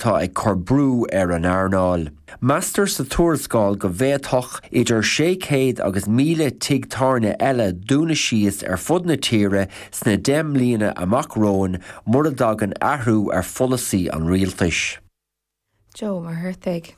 atá ag cur brú ar an earnáil. Meastar sa tuarascáil go bhféadfadh idir 600 agus 1,000 tigh tábhairne eile dúnadh síos ar fud na tíre sna 10 mbliana amach romhainn mura dtagann athrú ar pholasaí an rialtais. Joe Ó Muircheartaigh.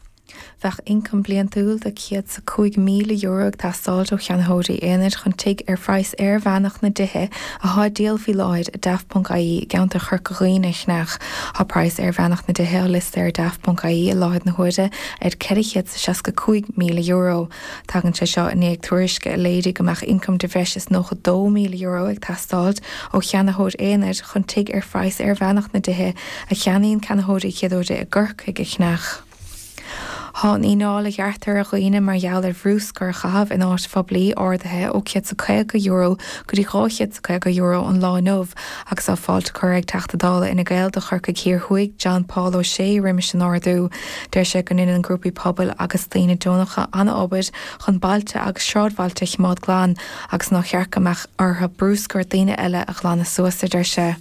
Bheadh ioncam bliantúil de €105,000 ag teastáilt ó cheannaitheoirí aonair chun tigh ar phraghas airmheánach na dtithe athá á díol faoi láthair i Daft.ie i gceantar Chorca Dhuibhne a cheannach. Tá praghas airmheánach na dtithe á liosta ar Daft.ie i láthair na huaire ar €465,000. Tagann sé seo i ndiaidh tuairisce a léirigh go mbeadh ioncam de bhreis is €92,000 ag teastáilt ó cheannaitheoir aonair chun tigh ar phraghas airmheánach na dtithe a cheannaíonn ceannaitheoirí chéaduaire i gCorcaigh a cheannach. Tá an fhíneáil a ghearrtar ar dhaoine mar gheall ar bhrúscar a chaitheamh in áit phoiblí ardaithe ó €150 go dtí €250 an lá inniu agus tá fáilte curtha ag Teachta Dála Fhine Gael do Chorcaigh Thiar Thuaidh John Paul O'Shea roimis an ardú. Deir sé go ndeineann grúpaí pobail agus daoine deonacha an-obair chun bailte agus sráidbhailte a chimeád glan agus nár cheart go mbeadh orthu brúscar daoine eile a ghlanadh suas, a deir sé.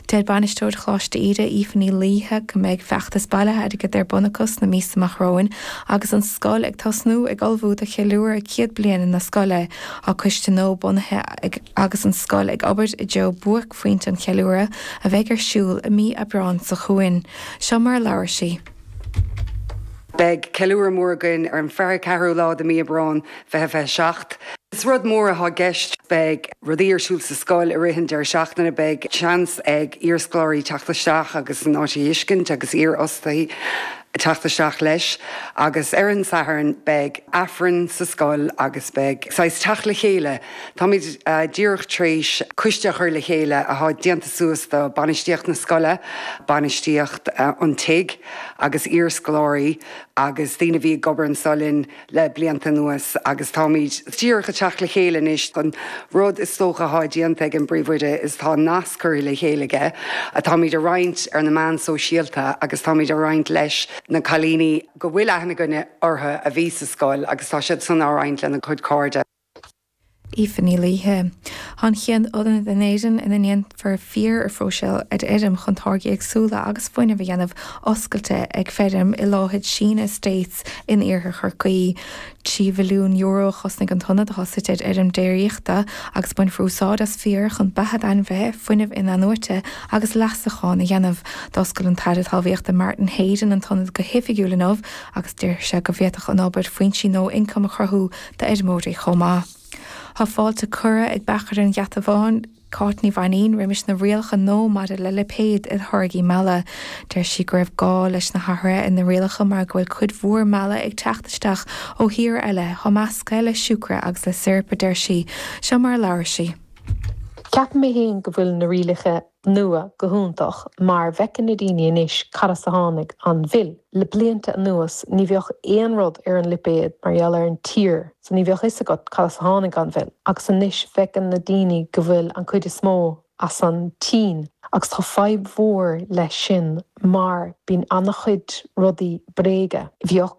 Deir Bainisteoir Choláiste Íde, Aoife Ní Laoithe, go mbeidh feachtas bailithe airgid ar bun acu sna míosa amach romhainn agus an scoil ag tosnú ag ullmhú do cheiliúradh 100 bliain na scoile. Tá coiste nua bunaithe ag agus an scoil ag obair i dtreo buaicphointe an cheiliúradh a bheidh ar siúl i mí Aibreáin seo chugainn. Seo mar a labhair sí. Beidh ceiliúradh mór againn ar an 24ú lá de mí Aibreáin 2027. Is rud mór atá i gceist. Beidh rudaí ar siúl sa scoil i rith an deireadh seachtaine. Beidh seans ag iarscoláirí teacht isteach agus an áit a fheiscint agus iarfhostaithe teacht isteach leis. Agus ar an Satharn beidh Aifreann sa scoil agus beidh saghas teacht le chéile. Táimid díreach tar éis coiste a chur le chéile atá déanta suas de bainistíocht na scoile, bainistíocht an tigh agus iarscoláirí agus daoine a bhí ag obair anso linn le blianta anuas agus táimid díreach ag teacht le chéile anois. An rud is dócha atá déanta ag an bpríomhoide is tá nasc curtha le chéile aige atáimid a roinnt ar na meáin sóisialta agus táimid a roinnt leis na cailíní go bhfuil aithne againne orthu a bhí sa scoil agus tá siad san á roinnt lena gcuid cairde. Aoife Ní Laoithe. Tá an chéad ionad in Éirinn ina ndéanfar féar a phróiseáil ar fheirm chun táirgí éagsúla agus fuinneamh a dhéanamh oscailte ag feirm i láthair Sheena Estates in iarthar Chorcaí. €3 mhilliún a chosnaigh an t-ionad atá suite ar fheirm déiríochta agus bainfear úsáid as féar chun beatha d'ainmhithe, fuinneamh in-athnuaite agus leasachán a dhéanamh. D'oscail an tAire Talmhaíochta Martin Heydon an t-ionad go hoifigiúil inniu agus deir sé go bhféadfadh an obair foinsí nua ioncaim a chruthú d'fheirmeoirí chomh maith. Tá fáilte curtha ag beachaire an Gheata Bháin, Cáit Ní Mhainín, roimis na rialacha nua maidir le lipéid ar tháirgí meala. Deir sí go raibh gá leis na hathruithe ar na rialacha mar go bhfuil cuid mhór meala ag teacht isteach ó thíortha eile atá measctha le siúcra agus le sirip, a deir sí. Seo mar a labhair sí. Ceapaim mé féin go bhfuil na rialacha nua go hiontach mar bhfeiceann na daoine anois cad as a tháinig an mhil. Le blianta anuas ní bheadh aon rud ar an lipéad mar gheall ar an tír so ní bheadh fhios agat cad as a tháinig an mhil agus anois bhfeiceann na daoine go bhfuil an cuid is mó as an tSín agus tá fadhb mhór leis sin mar bíonn an-chuid rudaí bréige. Bheadh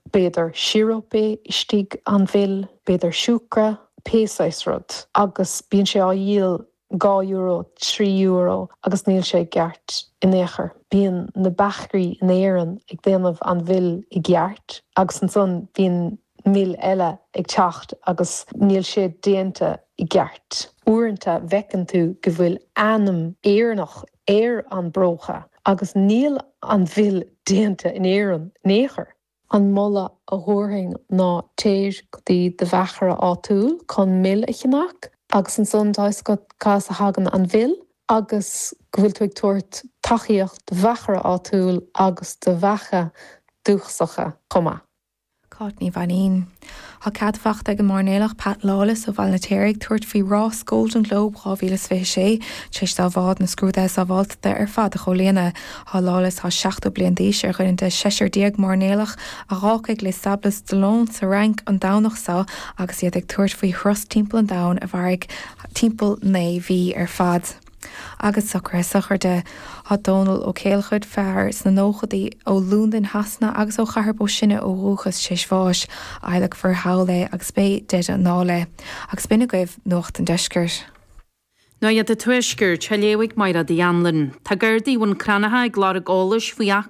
b'fhéidir síoróip istigh an mhil, b'fhéidir siúcra, pé saghas rud agus bíonn sé á dhíol €2, €3 agus níl sé i gceart in aon chor. Bíonn na beachairí in Éirinn ag déanamh an mhil i gceart agus ansan bíonn mil eile ag teacht agus níl sé déanta i gceart. Uaireanta bhfeiceann tú go bhfuil ainm Éireannach ar an bpróca agus níl an mhil déanta in Éirinn in aon chor. An moladh a thabharfainn ná téir go dtí do bheachaire áitiúil chun mil a cheannach agus ansan tá fhios agat cá as a thagann an mhil agus go bhfuil tú ag tabhairt tacaíocht do bheachaire áitiúil agus do bheacha dúchasacha chomh maith. Cáit Ní Mhainín. Tá cead fachta ag an mairnéalach Pat Lawless ó Bhaile na Téirigh tabhairt faoi rás Golden Globe 2026 tar éis dá bhád na scrúduithe sábháilteachta ar fad a chomhlíonadh. Tá Lawless, atá 70 bliain d'aois, ar dhuine de sheisear déag mairnéalach a dh'fhágfaidh Les Sables d'Olonne sa Fhrainc an Domhnach seo agus iad ag tabhairt faoi thuras timpeall an domhain a mhairfidh timpeall 9 mhí ar fad. Agus socruithe sochraide. Tá Dónal Ó Céilleachair, fear sna nóchadaí ó Londain Shasana agus ó Chathair Bó Sine ó dhúchas, tar éis bháis. Adhlacfar thall é agus beidh deireadh anall é. Agus b'in agaibh Nuacht an Deiscirt. Nuacht an Tuaiscirt, á léamh ag Mairéad Uí Anluain. Tá Gardaí Bhun Cranncha ag lorg eolais faoi.